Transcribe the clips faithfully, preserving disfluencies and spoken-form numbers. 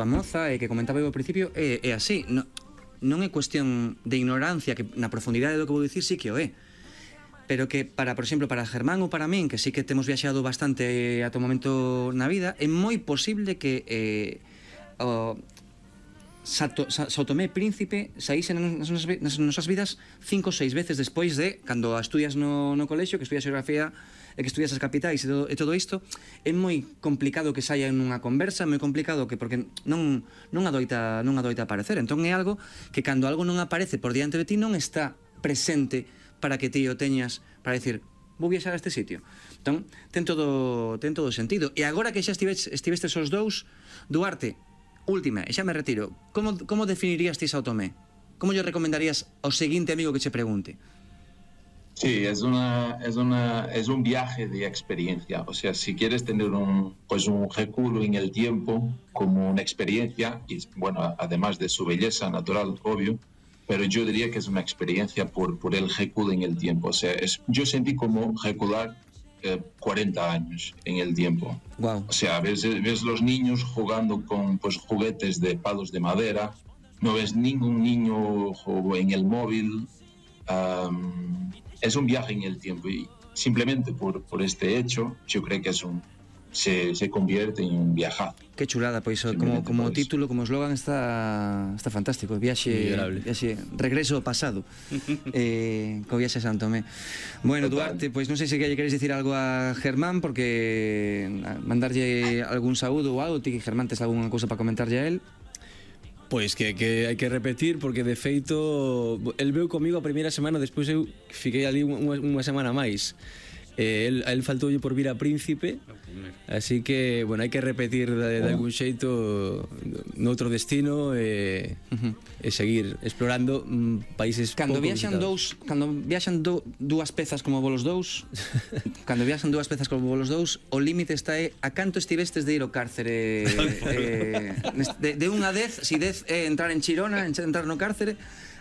a moza e que comentaba eu ao principio é, é así, non, non é cuestión de ignorancia, que na profundidade do que vou dicir sí que o é, pero que para, por exemplo, para Germán ou para min, que sí que temos viaxado bastante ata o momento na vida, é moi posible que eh, o Sato, Sa, Sao Tomé e Príncipe saísen nas, nas, nas nosas vidas cinco ou seis veces despois de cando estudias no, no colexio, que estudias xeografía e que estudias as capitais e todo, e todo isto. É moi complicado que saia nunha conversa, moi complicado que porque non non adoita non adoita aparecer. Entón é algo que cando algo non aparece por diante de ti non está presente para que ti o teñas para decir vou viaxar a este sitio. Entón ten todo ten todo sentido. E agora que xa estivestes estivestes os dous, Duarte, última, e xa me retiro, como, como definirías ti Sao Tomé? Como yo recomendarías ao seguinte amigo que che pregunte? Sí, es una es una es un viaje de experiencia. O sea, si quieres tener un pues un reculo en el tiempo como una experiencia, y bueno, además de su belleza natural, obvio, pero yo diría que es una experiencia por por el reculo en el tiempo. O sea, es, yo sentí como recular Eh, cuarenta años en el tiempo. Wow. O sea, ves, ves los niños jugando con pues, juguetes de palos de madera, no ves ningún niño en el móvil. Um, es un viaje en el tiempo y simplemente por, por este hecho yo creo que es un se, se convierte en un viajazo. Qué chulada, pois pues, como, como título, como eslogan está, está fantástico. Viaxe, viaxe regreso ao pasado eh, co viaxe a San Tomé. Bueno, Duarte, pois pues, non sei se que queres dicir algo a Germán, porque mandarlle algún saúdo ou algo. Ti, Germán, tes algunha cousa para comentarlle a él? Pois que, que hai que repetir, porque de feito el veu comigo a primeira semana, despois eu fiquei ali unha, unha semana máis. Eh, el, a él faltou por vir a Príncipe, así que, bueno, hai que repetir de, de algún xeito noutro destino e, uh-huh. e seguir explorando mm, países cando pouco viaxan visitados. dous, cando viaxan do, dúas pezas como volos dous, cando viaxan dúas pezas como volos dous, o límite está é a canto estivestes de ir ao cárcere eh, de, de un a dez, si dez é entrar en Chirona, entrar no cárcere.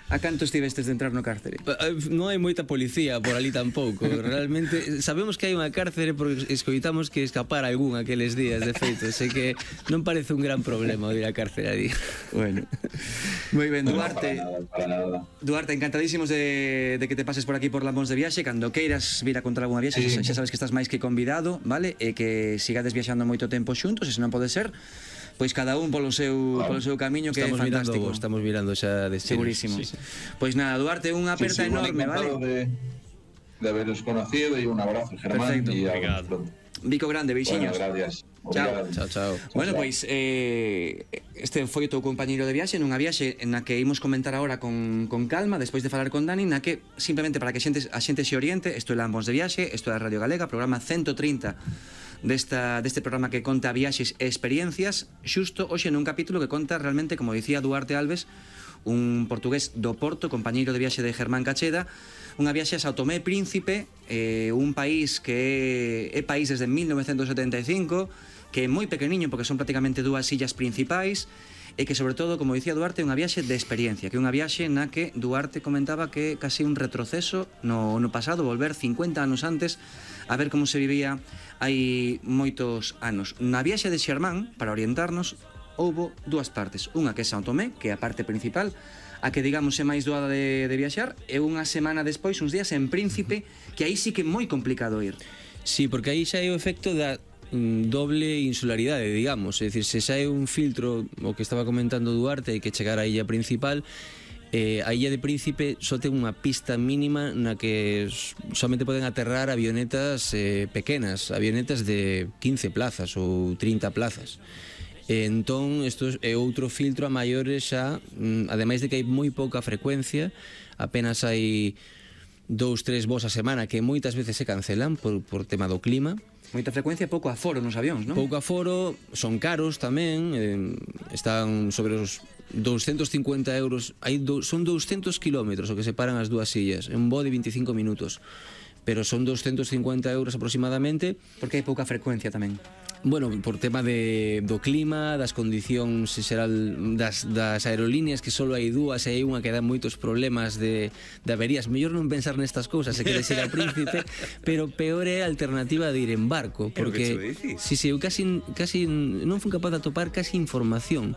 A canto estivestes de entrar no cárcere? Non hai moita policía por ali tampouco. Realmente sabemos que hai unha cárcere porque escoitamos que escapar algún aqueles días, de feito. Sei que non parece un gran problema ir á cárcere ali. Bueno, moi ben, Duarte. Duarte, encantadísimos de, de que te pases por aquí por Lambóns de Viaxe. Cando queiras vir a contar algunha viaxe, sí. xa sabes que estás máis que convidado, vale? E que sigades viaxando moito tempo xuntos, e se non pode ser, pois cada un polo seu claro. polo seu camiño, que estamos é fantástico. Mirando, estamos mirando xa destinos. Segurísimo. Sí. Pois nada, Duarte, unha aperta sí, sí, enorme, vale? De, de haberos conocido e un abrazo, Germán. Perfecto. Y Obrigado. Bico grande, beixiños. Bueno, gracias. Chao. Chao, chao. Bueno, pois eh, este foi o teu compañeiro de viaxe, nunha viaxe na que imos comentar agora con, con calma, despois de falar con Dani, na que, simplemente para que a xente, a xente se oriente, isto é Lambóns de Viaxe, isto é a Radio Galega, programa ciento trinta desta, deste programa que conta viaxes e experiencias, xusto hoxe nun capítulo que conta realmente, como dicía Duarte Alves, un portugués do Porto, compañeiro de viaxe de Germán Cacheda, unha viaxe a Sao Tomé e Príncipe, eh, un país que é, é país desde mil novecentos setenta e cinco, que é moi pequeniño porque son prácticamente dúas illas principais, e que sobre todo, como dicía Duarte, é unha viaxe de experiencia, que é unha viaxe na que Duarte comentaba que é casi un retroceso no, no pasado, volver cincuenta anos antes a ver como se vivía hai moitos anos. Na viaxe de Xermán, para orientarnos, houbo dúas partes, unha que é Sao Tomé, que é a parte principal, a que digamos é máis doada de, de viaxar, e unha semana despois, uns días en Príncipe, que aí sí que é moi complicado ir. Sí, porque aí xa é o efecto da mm, doble insularidade, digamos, é dicir, se xa é un filtro, o que estaba comentando Duarte, hai que chegar á illa principal. Eh, a illa de Príncipe só ten unha pista mínima na que somente poden aterrar avionetas eh, pequenas, avionetas de quince plazas ou trinta plazas. Entón, isto é outro filtro a maiores xa, ademais de que hai moi pouca frecuencia, apenas hai dous, tres voos a semana que moitas veces se cancelan por, por tema do clima. Moita frecuencia e pouco aforo nos avións, non? Pouco aforo, son caros tamén, eh, están sobre os doscientos cincuenta euros, hai do, son doscientos kilómetros o que separan as dúas illas, un voo de veinticinco minutos, pero son doscientos cincuenta euros aproximadamente. Porque hai pouca frecuencia tamén. Bueno, por tema de, do clima, das condicións xeral das, das aerolíneas, que só hai dúas e hai unha que dá moitos problemas de, de averías. Mellor non pensar nestas cousas se queres ir a Príncipe, pero peor é a alternativa de ir en barco, porque si, si, eu casi, casi non fui capaz de atopar casi información